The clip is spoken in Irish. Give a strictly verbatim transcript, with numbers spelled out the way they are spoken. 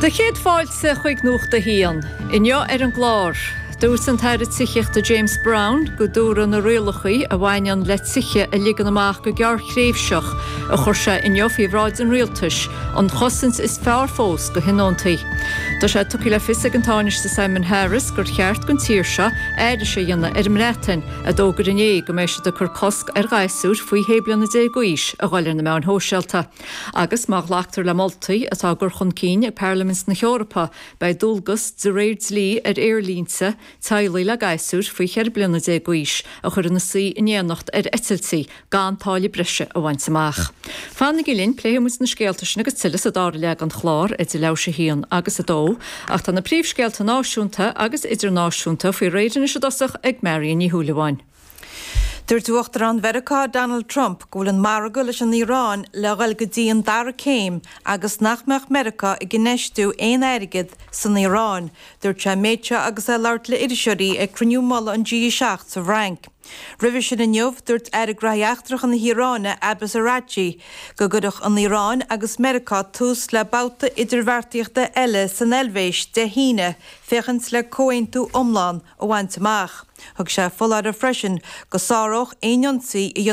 Sé chéad fáilte chuig Nuacht a hAon, inniu ar an gclár. Dúirt an tAire Tithíochta James Browne go dtabharfaidh na rialacha a bhaineann le tithe a ligean amach go gearrthréimhseach a chuir sé inniu faoi bhráid an rialtais an chosaint is fearr fós do thionóntaí. Tá sé tugtha le fios ag an Tánaiste Simon Harris gur cheart don tír seo aithris a dhéanamh ar an mBreatain a d'fhógair inné go mbeidh siad ag cur cosc ar ghasúir faoi shé bliana déag d'aois a dhul ar na meáin shóisialta. Agus má ghlactar le moltaí atá á gcur chun cinn ag Parlaimint na hEorpa beidh dualgas de réir dlí ar aerlínte teaghlaigh le gasúir faoi cheithre bliana déag d'aois a chur ina suí in éineacht ar eitiltí gan táille breise a bhaint amach. Fanaigí linn pléifimid na scéalta sin agus tuilleadh sa dara leath den chlár idir leathuair théis a haon agus a dó, ach tá na príomhscéalta náisiúnta agus idirnáisiúnta faoi réir anois i dtosach ag Marion Ní Shúilleabháin. Dúirt Uachtarán Mheiriceá Donald Trump go bhfuil an margadh leis an Iaráin le dhul go dtí an dara céim agus nach mbeadh Meiriceá ag infheistiú aon airgead san Iaráin. Dúirt sé méid seo agus é ag labhairt le iriseoirí ag cruinniú mullaigh an G seacht sa Fhrainc. Roimhe sin inniu dúirt Aire Gnóthaí Eachtracha na hIaráine Abbas Araghchi go gcuirfeadh an Iaráin agus Meiriceá tús le babhta idirbheartaíochta eile san Eilvéis Dé hAoine féachaint le comhaontú iomlán a bhaint amach. Thug sé foláireamh freisin go sáródh aon ionsaí a